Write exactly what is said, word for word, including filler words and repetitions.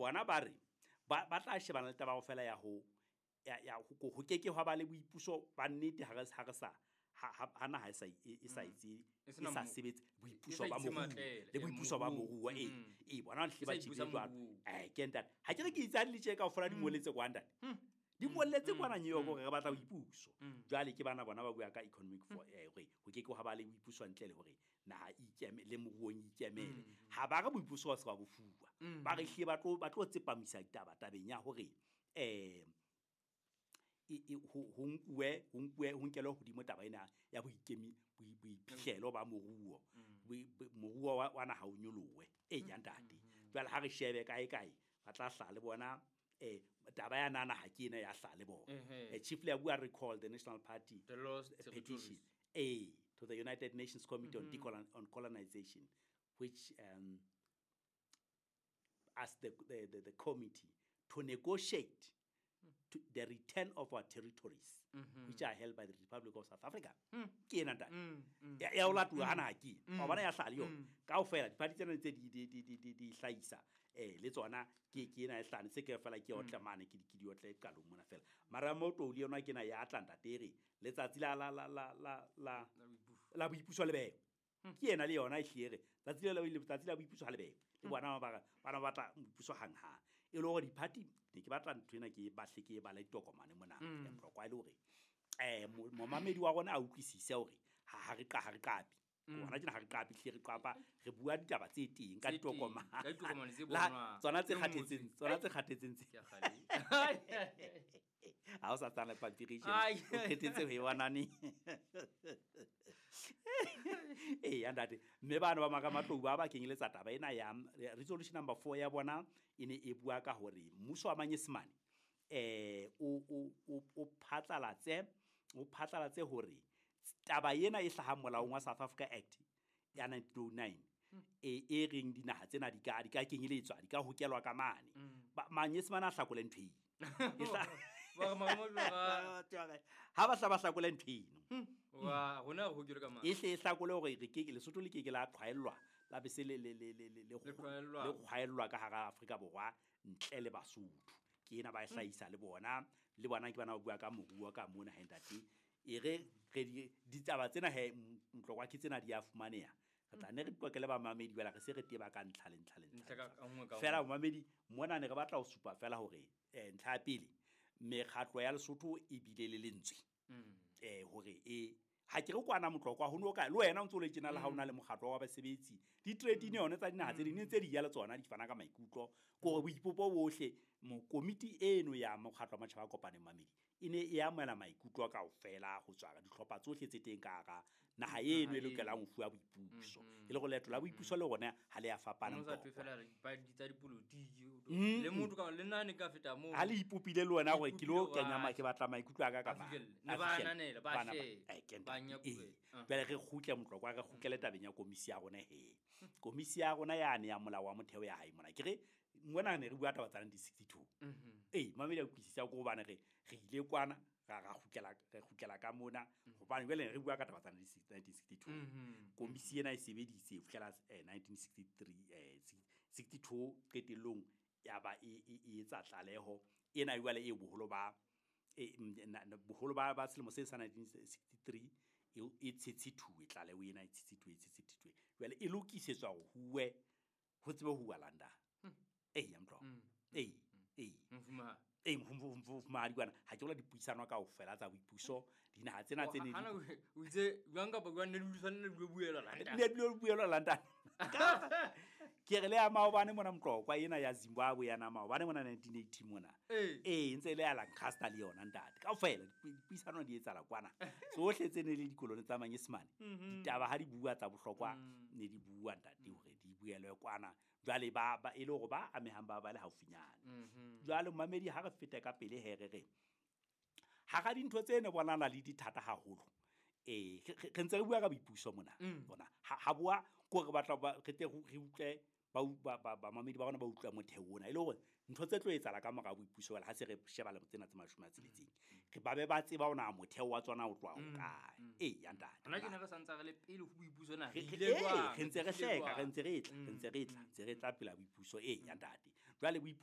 Bona ba re ba ba tla shebana le taba kaofela ya ho ya ya ho ho keke hwa ba le boipuso ba nnete ha re ha re sa ha ha naha e sa e sa itse E e sena sa mo- sebetse e boipuso sa ba itse moruo matlele, le eh, boipuso ba moruo. moruo ee Mm. ee bona hle E ba sa ipusa tjhebile jwalo. moruo. Eh ke ntate ha ke re ke itse ha di le tje kaofela di ngoletse kwa ntate di ngoletse kwana New York hore re batla boipuso. Jwale ke bana bona ba bua ka economic for eh hore ho keke hwa ba le boipuso ntle le hore naha e ikeme le moruong e ikemele. Ha ba re boipuso ba se ba bo fuwa. Ba re hlile ba tlo ba tlo tsepamisa ditaba tabeng ya hore eh e e ho ho nkuwe ho nkuwe ho nkelwe hodimo taba ena ya boikemi boi- boiphihlelo ba moruo. Boi- bo- Moruo wa wa naha o nyolohe. E ya ntate. Jwale ha re shebe kae kae ba tla hlaha le bona eh taba ya nana ha ke ena ya hlaha le bona. Ehe. Eh, Chief Leabua recalled the National Party The lost eh, petition territories. A to the United Nations Committee on, Decolon- on Colonization, which um, asked the, the, the, the committee to negotiate to the return of our territories, which are held by the Republic of South Africa. Ke ena ntate. Ya ya o latuwa hana ha ke ena. Wa bona ya hlaha le yona. Kaofela diphathi tsena ntse di di di di di di hlahisa eh le tsona ke ke ena e hlahane se ke fela ke otle mane ke di ke di otle qalong mona fela. Mara mo toli yona ke ena ya tla ntate e re letsatsi la la la la la la la boipuso le bewe. Ke ena le yona e hlile re tsatsi le la letsatsi la boipuso ha le bewe. Le bona ba ba bana ba batla boipuso hanghang. E le hore diphathi ne ke batla ntho ena ke bahle ke bala ditokomane mona mm. Mtlokwa e le hore eh mo- momamedi wa rona a utlwisise hore ha ha re qa ha re qapi. Hona tjena ha re qapi hle re qapa re bua ditaba tse teng ka Tse teng, ditokomane. ka ditokomane tse La- bonwang, tsona tse tse kgathetseng ngotsweng. tsona tse kgathetseng tse. Ke a kgale. Ha o sa tsana le pampiri tjena Ai. o qetetse ho e bona neng. Ee ya ntate mme bana ba Maramatlou ba ba kenyeletsa taba ena ya resolution number four ya bona e ne e bua ka hore mmuso wa Manyesemane eh o o o o phatlalatse o phatlalatse hore taba ena e hlahang molaong wa South Africa Act ya nineteen oh nine e e reng dinaha tsena di ka di ka kenyeletswa di ka hokelwa ka mane. Ba- Manyesemane a hlakole ntho eno. E hla- Ba re Maramatlou ba- Ha ba hla ba hlakole ntho eno. Wa rona re hokilwe ka mane. E hle e hlakole hore re ke Lesotho le keke la qhwaellwa la be se le le le le le le Le qhwaellwa. le qhwaellwa ka hara Afrika Borwa ntle le Basotho. Ke ena ba e hlahisa le bona le bona ke bana ba bua ka moruo ka mona he ntate. E re re di ditaba tsena he Mtlokwa ke tsena di a fumaneha. Re tla ne re qoqele bamamedi jwale re se re teba ka ntlha le ntlha le ntlha. Ntlha ka ka nngwe ka Fela nngwe. momamedi mona ne re batla ho supa fela hore eh ntlha ya pele mekgatlo ya Lesotho e bile le lentswe. Mm. Eh hore e ha ke re kwana Motlokwa ho no ka le wena o ntso le tjena le ha ona le mokgatlo wa basebetsi di-trade union tsa dinaha tse ding ne ntse di ya le tsona di fana ka maikutlo ke hore boipopo bohle mo komiti eno ya mokgatlo wa matjhaba a kopaneng mamedi e ne e amohela maikutlo kaofela ho tswa dihlopha tsohle tse teng ka hara naha eno e eno. lokelang ho fuwa boipuso. E le hore leeto la boipuso le rona ha le a fapana Ho sa Motlokwa. thwe fela re ba di tsa dipolotiki o Mm. le motho ka le nna ne ka feta moo. Ha le ipopile le wena hore ke lo Ipopile kenya ma wa- ke batla maikutlo a ka ka A mang. fihlelle. A Ne ba fihlelle. ananela, ba Bana ba- share, eh, ke ba ntate. nyakubela. Ee. Ah. Jwale re kgutle Motlokwa re kgutlele tabeng ya komisi ya rona he. Komisi ya rona yane ya molao wa motheo ya hae mona. Ke re mona ne re bua taba tsa nineteen sixty-two. Mhm. Ee, mamedi a utlwisisa ke hobane re re ile kwana ra ra kgutlela re kgutlela ka mona hobane jwale re bua ka taba tsa nineteen sixty-two. Mhm. Komisi ena e sebeditse ho fihlela eh, nineteen sixty-three eh sixty-two qetellong ya ba e e e etsa tlaleho ena jwale e boholo ba e mm, na- na- boholo ba ba selemo se sa nineteen sixty-three e e tshetshithuwe tlaleho ena e tshetshithuwe e tshetshithuwe jwale e lokisetswa hore huwe ho tsebe ho huwa London. Ee ya Motlokwa. Ee ee Mofumahadi. ee mofumahadi kwana ha ke bola dipuisano kaofela tsa boipuso dinaha tsena tse ne Hana di o itse jwang kapa jwang ne le tshwanela le dule buelwa London. ne dule buelwa London. Ke re le ya maobane mona Motlokwa ena ya Zimbabwe ya na maobane mona nineteen eighty mona. Ee. Ee ntse e le ya Lancaster le yona ntate. Kaofela dipuisano di etsahala kwana. Tsohle tse ne le dikolone tsa Manyesemane. Ditaba ha di bua tsa bohlokwa ne di bua ntate hore di buelwe kwana. Jwale ba ba e le hore ba amehang ba ba le haufinyane. Jwale momamedi ha re fete ka pele he re re hara dintho tse ne bonana le dithata haholo. Eh re ntse re bua ka boipuso mona. Bona ha ha bua ko re batla ba re tle re utlwe ba ba ba bamamedi ba rona ba utlwa motheo ona e le hore ntho tse tlo etsahala ka mora boipuso wala ha se re sheba le tsena tse mashome a tsheletseng. Re ba be ba tseba hore na motheo wa tsona o tloha ho kae. Ee ya ntate. Hona tjena re santse re le pele ho boipuso na Re re re ile ee, jwang? re ntse re Re tlile hleka, re jwang? ntse re tla, re ntse re tla, ntse re tla pela boipuso. Ee ya ntate. Jwale boipuso